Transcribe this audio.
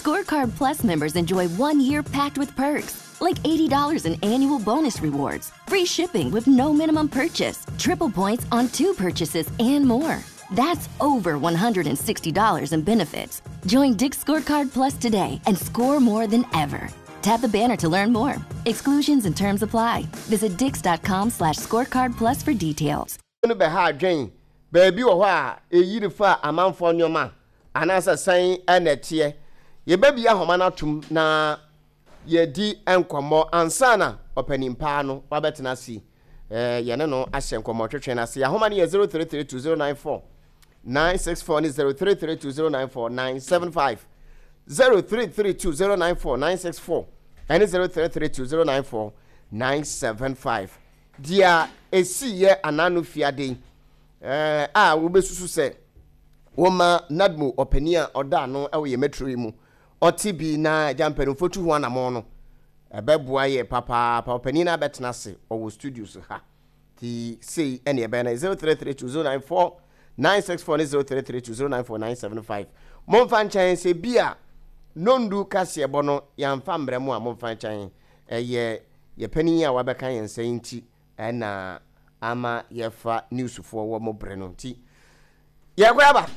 Scorecard Plus members enjoy 1 year packed with perks, like $80 in annual bonus rewards, free shipping with no minimum purchase, triple points on two purchases, and more. That's over $160 in benefits. Join Dick's Scorecard Plus today and score more than ever. Tap the banner to learn more. Exclusions and terms apply. Visit dicks.com/scorecardplus for details. No bɛha adwen baabi wɔ hɔ a ɛyiri fa amanfoɔ nneɛma anaasɛ sɛn ɛna ɛteɛ. Yɛbɛbi ahoma no atom na yɛdi nkɔmmɔ ansa na ɔpanin paa no wabɛtena ase, yɛne no ahyɛ nkɔmmɔ twetwe no ase. Ahoma no yɛ 0332 094 964 ne 0332 094 975, 0332 094 964 ɛne 0332 094 975. Deɛ ɛsiiɛ anano fiade a wobɛsusu sɛ wɔma NADMO ɔpanin a ɔda ano wɔ yɛ metro yi mu ɔte bi na agya mpanimfoɔ tu ho anammɔn no, ɛbɛboa yɛ papaapa. Ɔpanin no abɛtena ase, ɔwɔ studios ha, nti sei ɛne ɛbɛyɛ no 0332 094 964 ne 0332 094 975. Momfa nkyɛn sɛ bi a nondu kaseɛbɔ no yɛamfa mmerɛ mu a, momfa nkyɛn. Ɛyɛ yɛ panin a wabɛka yɛn nsa yi nti ɛna ama yɛfa newsfoɔ wɔ mo berɛ no nti yɛkɔ aba.